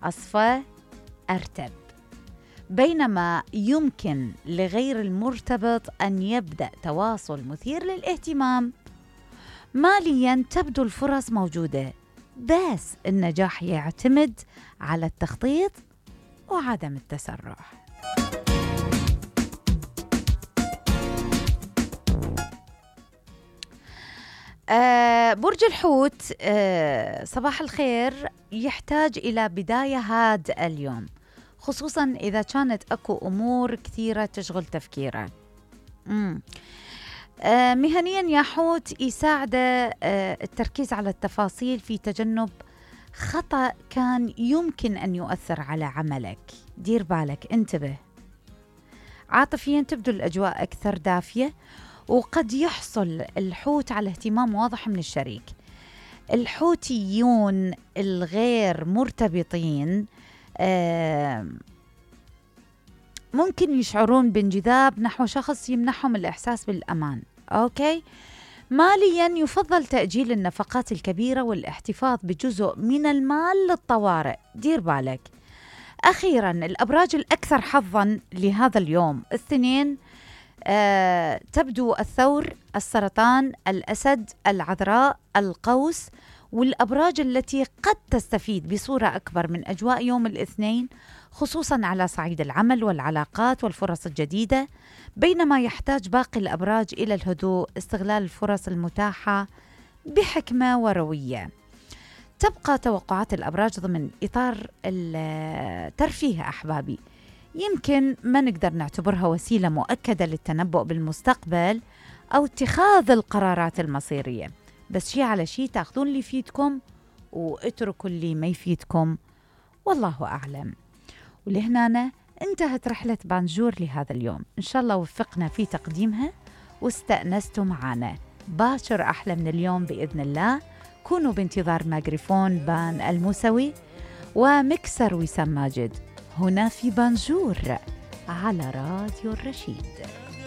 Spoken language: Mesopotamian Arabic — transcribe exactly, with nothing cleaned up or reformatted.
أصفى، أرتب. بينما يمكن لغير المرتبط أن يبدأ تواصل مثير للاهتمام. مالياً تبدو الفرص موجودة، بس النجاح يعتمد على التخطيط وعدم التسرع. آه برج الحوت، آه صباح الخير. يحتاج إلى بداية هادئة اليوم، خصوصاً إذا كانت أكو أمور كثيرة تشغل تفكيره. مم. آه مهنياً يا حوت يساعد آه التركيز على التفاصيل في تجنب خطأ كان يمكن أن يؤثر على عملك. دير بالك، انتبه. عاطفياً تبدو الأجواء أكثر دافية، وقد يحصل الحوت على اهتمام واضح من الشريك. الحوتيون الغير مرتبطين آه ممكن يشعرون بانجذاب نحو شخص يمنحهم الإحساس بالأمان. أوكي. مالياً يفضل تأجيل النفقات الكبيرة والاحتفاظ بجزء من المال للطوارئ. دير بالك. أخيراً الأبراج الأكثر حظاً لهذا اليوم: الاثنين، آه، تبدو الثور، السرطان، الأسد، العذراء، القوس. والأبراج التي قد تستفيد بصورة أكبر من أجواء يوم الاثنين، خصوصاً على صعيد العمل والعلاقات والفرص الجديدة، بينما يحتاج باقي الأبراج إلى الهدوء، استغلال الفرص المتاحة بحكمة وروية. تبقى توقعات الأبراج ضمن إطار الترفيه أحبابي، يمكن ما نقدر نعتبرها وسيلة مؤكدة للتنبؤ بالمستقبل أو اتخاذ القرارات المصيرية، بس شي على شي تاخذون اللي يفيدكم واتركوا اللي ما يفيدكم، والله أعلم. ولهنا انتهت رحلة بانجور لهذا اليوم، إن شاء الله وفقنا في تقديمها واستأنستوا معنا. باشر أحلى من اليوم بإذن الله. كونوا بانتظار ميكروفون بان الموسوي ومكسر وسام ماجد هنا في بانجور على راديو الرشيد.